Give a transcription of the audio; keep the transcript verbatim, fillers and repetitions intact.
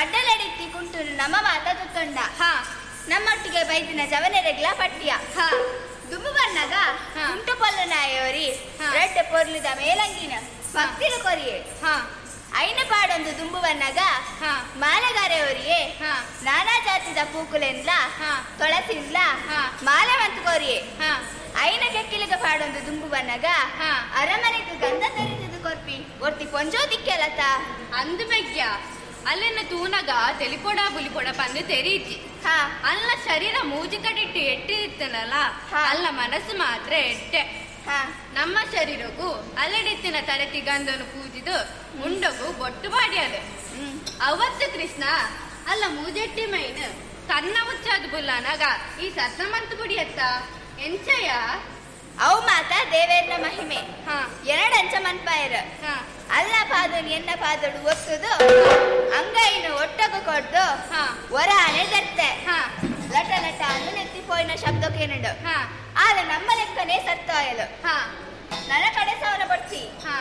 ಮಡ್ಡಲಡಿತ್ತಿ ಕುಂಟುನು ನಮ್ಮ ಮಾತ ತುತ್ತೊಂಡ. ಹಾ. ನಮ್ಮೊಟ್ಟಿಗೆ ಬೈದಿನ ಜವನೆರೆಗ್ಲ ಪಟ್ಟಿಯ. ಹಾ. ದುಂಬು ಬನ್ನಗ ಹಾ. ಕುಂಟು ಪೊಲ್ಲು ನಾಯೋರಿ ಹಾ. ರಡ್ಡ ಪೊರ್ಲುದ ಮೇಲಂಗಿನ ಭಕ್ತಿಲು ಕೊರಿಯೆ. ಹಾ. ಐನ ಪಾಡೊಂದು ದುಂಬು ಬನ್ನಗ ಹಾ. ಮಾಲೆಗಾರೆ ಒರಿಯೆ ಹಾ. ನಾನಾ ಜಾತಿದ ಪೂಕುಲೆನ್ಲ ಹಾ. ತೊಳಸಿನ್ಲ ಹಾ. ಮಾಲೆ ಮಂತು ಕೊರಿಯೆ. ಹಾ. ಐನ ಕೆಕ್ಕಿಲಿಗ ಪಾಡೊಂದು ದುಂಬು ಬನ್ನಗ ಹಾ. ಅರಮನೆಗೆ ಗಂಧ ತರಿದು ಕೊರ್ಪಿ ಒರ್ತಿ ಪೊಂಜೋ ದಿಕ್ಕೆಲತ. ಅಂದು ಮೆಗ್ಯ ಅಲ್ಲಿನ ತೂನಗ ತೆಲಿಪೊಡ ಬುಲಿಪೊಡ ಪಂದು ತೆರೀಜಿ. ಹಾ. ಅಲ್ಲ ಶರೀರ ಮೂಜಿ ಕಡಿಟ್ಟು ಎಟ್ಟಿತ್ತನಲ್ಲ ಹಾ. ಅಲ್ಲ ಮನಸ್ಸು ಮಾತ್ರ ಎಟ್ಟೆ. ಹಾ. ನಮ್ಮ ಶರೀರಕ್ಕೂ ಅಲ್ಲಡಿತ್ತಿನ ತರತಿ ಗಂಧನು ಪೂಜಿದು ಮುಂಡಗು ಬೊಟ್ಟು ಬಾಡಿಯಲು. ಹ್ಮ್. ಅವತ್ತು ಕೃಷ್ಣ ಅಲ್ಲ ಮೂಜೆಟ್ಟಿ ಮೈನ್ ಕನ್ನ ಮುಚ್ಚಾದು ಬುಲ್ಲನಾಗ ಈ ಸತ್ತಮಂತು ಬುಡಿಯತ್ತ ಎಂಚಯ. ಅವು ಮಾತ ದೇವೇರ್ನ ಮಹಿಮೆ. ಹಾ. ಎರಡಂಚ ಮನ್ಪಾಯರು. ಹಾ. ಅಲ್ಲ ಪಾದನು ಎನ್ನ ಪಾದಡು ಒತ್ತುದು ಅಂಗೈನು ಒಟ್ಟಗು ಕೊಡ್ದು ಹಾ. ಹೊರ ಆನೆ ದರ್ತೆ. ಹಾ. ಲಟ ಲಟ ಅಂದು ನೆತ್ತಿ ಪೋಯಿನ ಶಬ್ದಕ್ಕೇನುಂಡು. ಹಾ. ಆದ ನಮ್ಮ ಲೆಕ್ಕನೆ ಸತ್ತಾಯಲು. ಹಾ. ನನ್ನ ಕಡೆ ಸವನ ಬಡ್ಚಿ. ಹಾ.